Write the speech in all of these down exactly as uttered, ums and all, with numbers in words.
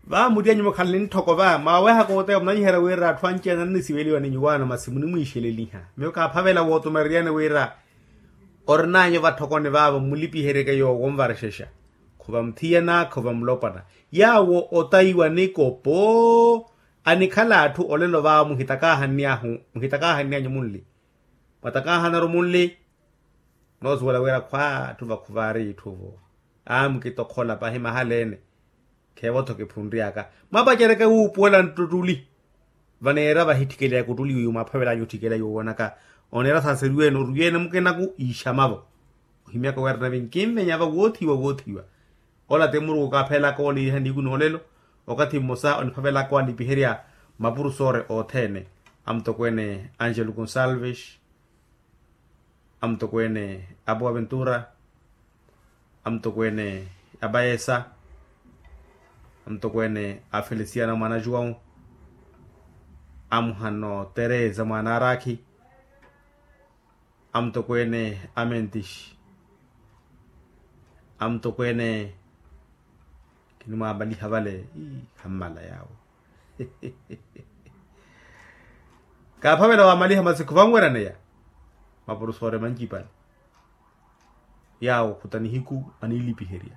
Va muttiyanyu mukhalani ntthoko va mwawehaka oteya munanyiherya wira atthu anci-ene annisiveliwa ni nyuwaano masi munimwiixeleliha miyo kaaphavela wootumereryani wira orinanyu vatthokoni vaavo mmulipiheryeke yoowo onvarexexa. Khuva muthiyana khuva mulopwana yaawo otayiwa nikopo. Anikhala atthu olelo vaavo muhitakaahanny'anyu munli mwatakaahanny'anyu munli. Mwatakaahanaru munli. Noosuwela wira khwa atthu vakhuvaari itthu-vo. Aa mukitokhola pahi mahala-ene kheevo-tho kiphunry'aka mwapaceryeke wuupuwela nttuli. Vaneera vahitthikeleya kuttuli wiiwo mwaaphavel'anyu otthikeleya yoowoonaka oneera saaseriwe-ene orwiye-ene mukinaku iixama-vo. Ohimyaka wira nave nkinvenya va woothiwa woothiwa. Ola ti muruku kaaphelaka oliiriha nihiku noolelo. Okathi mmosa oniphavelaka walipiherya mapurusoore othene. Amutokweene angelo gonsalves, amutokweene apowa ventura, amutokweene apaesa, amutokweene afelisiana mwaana juwau, amuhano tereza mwaana arakhi, amutokweene amentishi, amutokweene kinimwaamaliha vale. Hammala yaawo kaaphavela waamaliha masi khuvanweryaneya. Mapurusoore mancipale yaawo khuta nihiku aniilipiherya.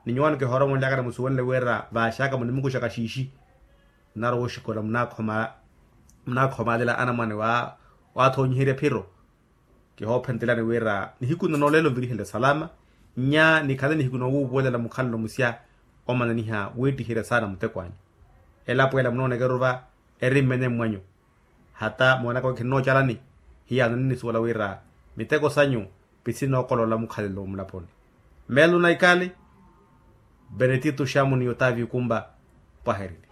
Ni nyuwaano kihoora omonly'aka nimusuwenle wira vaaxaka munimukuxaka xiixi. Munarowa oxikola munaakhomaalela anamwane waathonyiherya phiro. Kihoophentelani wira nihiku nna noolelo nvirihele salama. Nnya nikhale nihiku noowuupuwelela mukhalelo musya omananiha wiittiherya saana muteko anyu. Elapo ela munoonekeru va eri mmene mmwanyu. Hata moonaka wi khinnoocalani hiyaano ninnisuwela wira miteko sanyu pisinookolola mukhalelo mulaponi. Meelo na ikali benetito xamuni otavio kumba. Pwaherini.